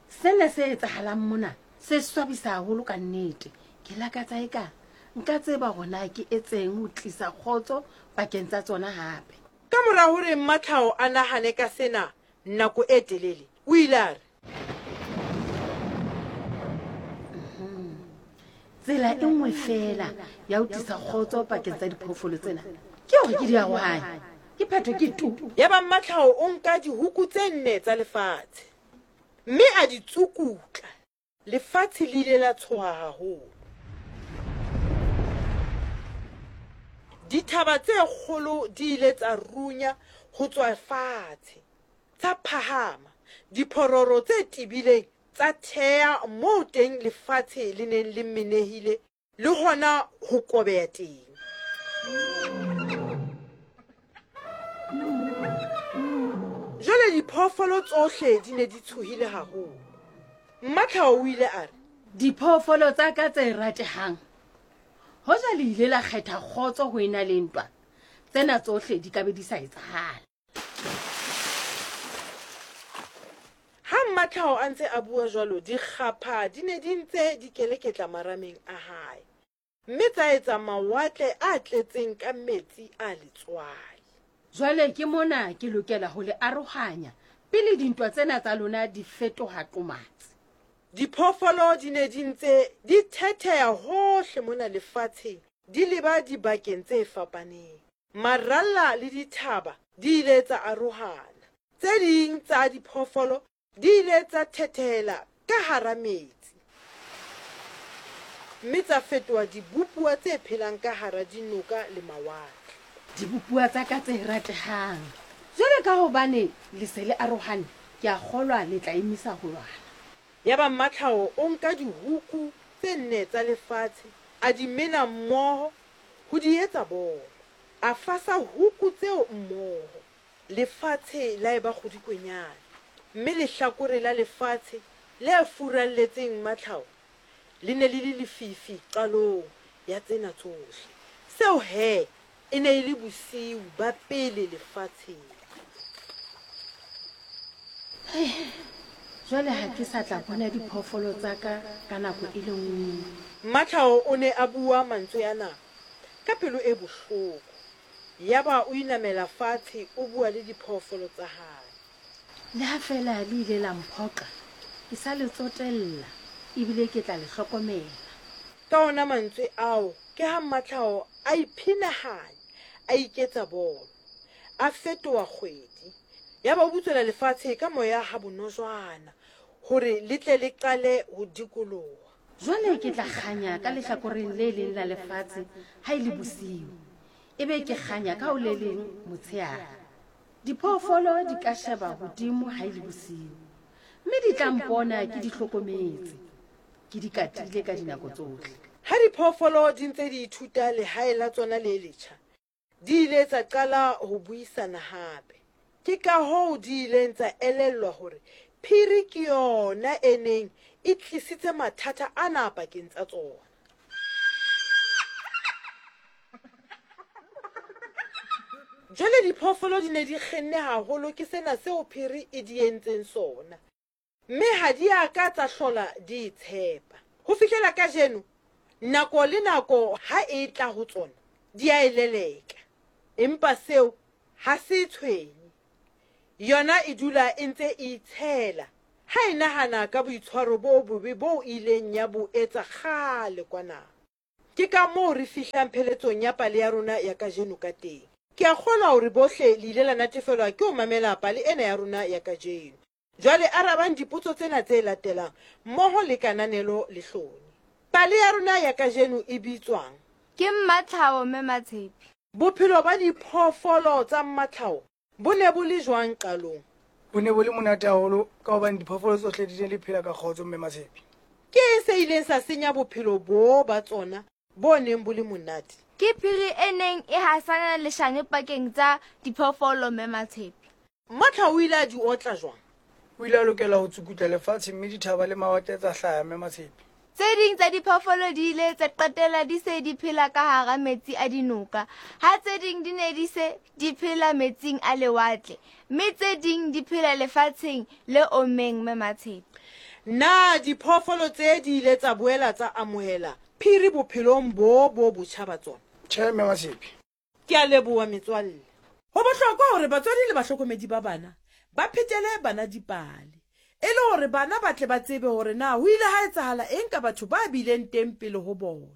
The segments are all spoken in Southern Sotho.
Sena se etsahalang mona se swabisa haholo ka nnete. Ke lakatsa eka nka tseba hore na ke etseng ho tlisa kgotso pakeng tsa tsona hape. Ka mora hore Mmatlhao a nahane ka sena nako e telele, o ile a re. Tsela e nngwe feela ya ho tlisa kgotso pakeng tsa diphoofolo tsena ke hore ke di arohanye. Ke phetho ke tu. Yaba Mmatlhao o nka dihuku tse nne tsa lefatshe mme a di tsukutla. Lefatshe le ile la tshoha haholo. Dithaba tse kgolo di ile tsa runya ho tswa fatshe, tsa phahama. Diphororo tse tebileng tsa thea moo teng lefatshe le neng le menehile le hona ho kobeya teng. Jwale diphoofolo tsohle di ne di tshohile haholo. Mmatlhao o ile a re. Diphoofolo tsa ka tse ratehang, hoja le ile la kgetha kgotso ho ena le ntwa, tsena tsohle di ka be di sa etsahala. Ha Mmatlhao a ntse a bua jwalo, dikgapha di ne di ntse di keleketla marameng a hae, mme tsa etsa mawatle a tletseng ka metsi a letswai. Jwale ke mona ke lokela ho le arohanya pele dintwa tsena tsa lona di fetoha qomatsi. Diphoofolo di ne di ntse di thetheha hohle mona lefatsheng di leba dibakeng tse fapaneng. Maralla le dithaba di ile tsa arohana. Tse ding tsa diphoofolo di ile tsa thethehela ka hara metsi mme tsa fetoha dibopuwa tse phelang ka hara dinoka le mawatle. Dibopuwa tsa ka tse ratehang, jwale ka hobane le se le arohane, ke a kgolwa le tla emisa ho lwana. Yaba Mmatlhao o nka dihuku tse nne tsa lefatshe, a di mena mmoho ho di etsa bolo. A fasa huku tseo mmoho. Lefatshe la eba kgodikwenyana, mme lehlakore la lefatshe le furalletseng Mmatlhao le ne le le lefifi qalong ya tsena tsohle. Seo he e ne e le bosiu ba pele lefatsheng. Jwale ha ke sa tla bona diphoofolo tsa ka ka nako e le nngwe. Mmatlhao o ne a bua mantswe ana ka pelo e bohloko. Yaba o inamela fatshe o bua le diphoofolo tsa hae. Le ha feela le ile la mphoqa, ke sa le tsotella ebile ke tla le hlokomela. Ka ona mantswe ao ke ha Mmatlhao a iphinahanya, a iketsa bolo. A fetoha kgwedi. Yaba o butswela lefatshe ka moya ha bonojwana hore le tle le qale ho dikoloha. Jwale ke tla kganya ka lehlakoreng le leng la lefatshe ha e le bosiu, ebe ke kganya ka ho le leng motsheare. Diphoofolo di ka sheba hodimo ha e le bosiu, mme di tla mpona ke di hlokometse, ke di katile ka dinako tsohle. Ha diphoofolo di ntse di ithuta lehae la tsona le letjha, di ile tsa qala ho buisana hape. Ke kahoo di ileng tsa elellwa hore phiri ke yona e neng e tlisitse mathata ana pakeng tsa tsona. Jwale diphoofolo di ne di kgenne haholo ke sena seo phiri e di entseng sona, mme ha di a ka tsa hlola di e tshepa. Ho fihlela kajeno, nako le nako ha e tla ho tsona, di a e leleka. Empa seo ha se e tshwenye. Yona e dula e ntse e itshela ha e nahana ka boitshwaro bo bobe boo e ileng ya bo etsa kgale kwana. Ke ka moo re fihlang pheletsong ya pale ya rona ya kajeno ka teng. Ke a kgolwa hore bohle le ile la natefelwa ke ho mamela pale ena ya rona ya kajeno. Jwale arabang dipotso tsena tse latelang mmoho le kananelo le hloni. Pale ya rona ya kajeno e bitswang? Ke Mmatlhao Mme Matshepi. Bophelo ba diphoofolo tsa Mmatlhao bo ne bo le jwang qalong? Bo ne bo le monate haholo ka hobane diphoofolo tsohle di ne di phela ka kgotso Mme Matshepi. Ke eng se ileng sa senya bophelo boo ba tsona bo neng bo le monate? Ke phiri e neng e hasana leshano pakeng tsa diphoofolo Mme Matshepi. Mmatlhao o ile a di otla jwang? O ile a lokela ho tsukutla lefatshe mme dithaba le mawatle tsa hlaha Mme Matshepi. Tse ding tsa diphoofolo di ile tsa qetella di se di phela ka hara metsi a dinoka, ha tse ding di ne di se di phela metsing a lewatle, mme tse ding di phela lefatsheng le ommeng. Mme Matshepe. Na diphoofolo tse di ile tsa boela tsa amohela Phiri bophelong bo bo botjha ba tsona? Tjhe, Mme Matshepe. Ke a leboha, metswalle. Ho bohlokwa hore batswadi le bahlokomedi ba bana ba phetele bana dipale e le hore bana ba tle ba tsebe hore na ho ile ha etsahala eng ka batho ba bileng teng pele ho bona.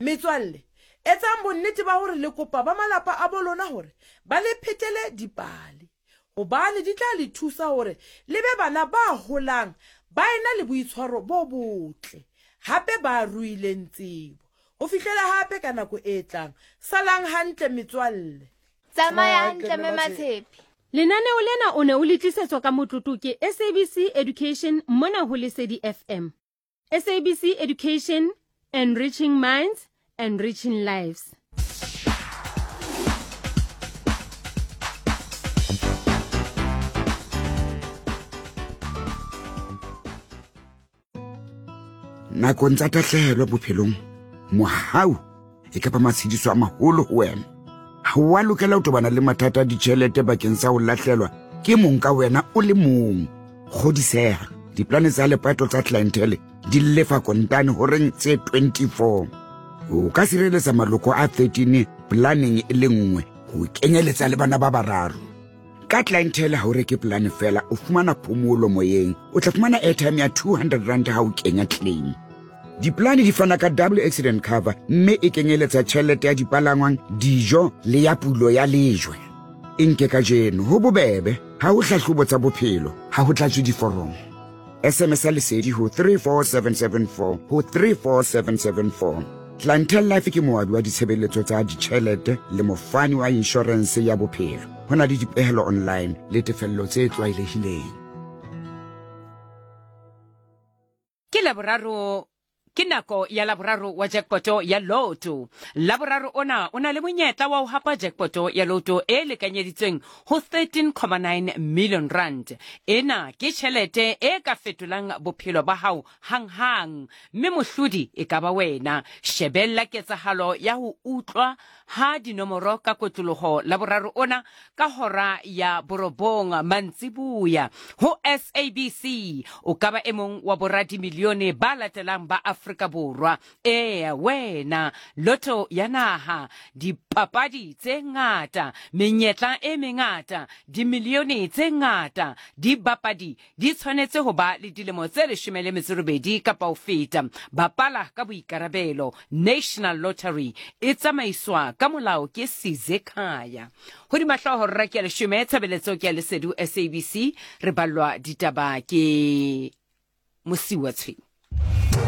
Metswalle, etsang bonnete ba hore le kopa ba malapa a bo lona hore ba le phetele dipale hobane di tla le thusa hore le be bana ba holang ba ena le boitshwaro bo botle hape ba ruileng tsebo. Ho fihlela hape ka nako e tlang, salang hantle metswalle. Tsamaya hantle Mme Matshepe. Lenaneo lena o ne o le tlisetswa ka motlotlo ke SABC Education mona ho Lesedi FM. SABC Education, enriching minds, enriching lives. Nakong tsa tahlehelo bophelong, mohau e ka ba matshediso a maholo ho wena. Ha wa lokela ho tobana le mathata a ditjhelete bakeng sa ho lahlelwa ke mong ka wena o le mong. Kgodiseha, diplane tsa lepato tsa clientele di lefa kontane horeng tse 24. O ka sireletsa maloko a 13 planeng e le nngwe ho kenyeletsa le bana ba bararo. Ka Clientele ha o reke polane fela, o fumana phomolo moyeng. O tla fumana airtime ya 200 rand ha o kenya claim. Diplane di fana ka double accident cover mme e kenyeletsa tjhelete ya dipalangwang, dijo le ya pulo ya lejwe. E nke kajeno, ho bobebe, ha ho hlahlobo tsa bophelo, ha ho tlatswe diforomo. SMS ya Lesedi ho 34774 ho 34774. Clientele Life ke moabi wa ditshebeletso tsa ditjhelete le mofani wa inshorense ya bophelo. Ho na le dipehelo online le tefello tse tlwaelehileng. Ke Laboraro Ke nako ya Laboraro wa jackpoto ya Lotto. Laboraro ona o na le monyetla wa ho hapa jackpoto ya Lotto e lekanyeditsweng ho 13.9 million rand. Ena ke tjhelete e ka fetolang bophelo ba hao hanghang, mme mohlodi e ka ba wena. Shebella ketsahalo ya ho utlwa ha dinomoro ka kotloloho Laboraro ona ka hora ya borobong mantsiboya ho SABC. O ka ba e mong wa boradimilione ba latelang ba Afrika Borwa. Ee, wena, lotto ya naha, dipapadi tse ngata, menyetla e mengata, dimilione tse ngata, dibapadi Di tshwanetse ho ba le dilemo tse 18 kapa ho feta. Bapala ka boikarabelo. National Lottery e tsamaiswa ka molao ke Sizekhaya. Hodima hlooho rra ke ya leshome, tshebeletso ke ya Lesedu SABC. Re ballwa ditaba ke Mosiuwa Tshweu.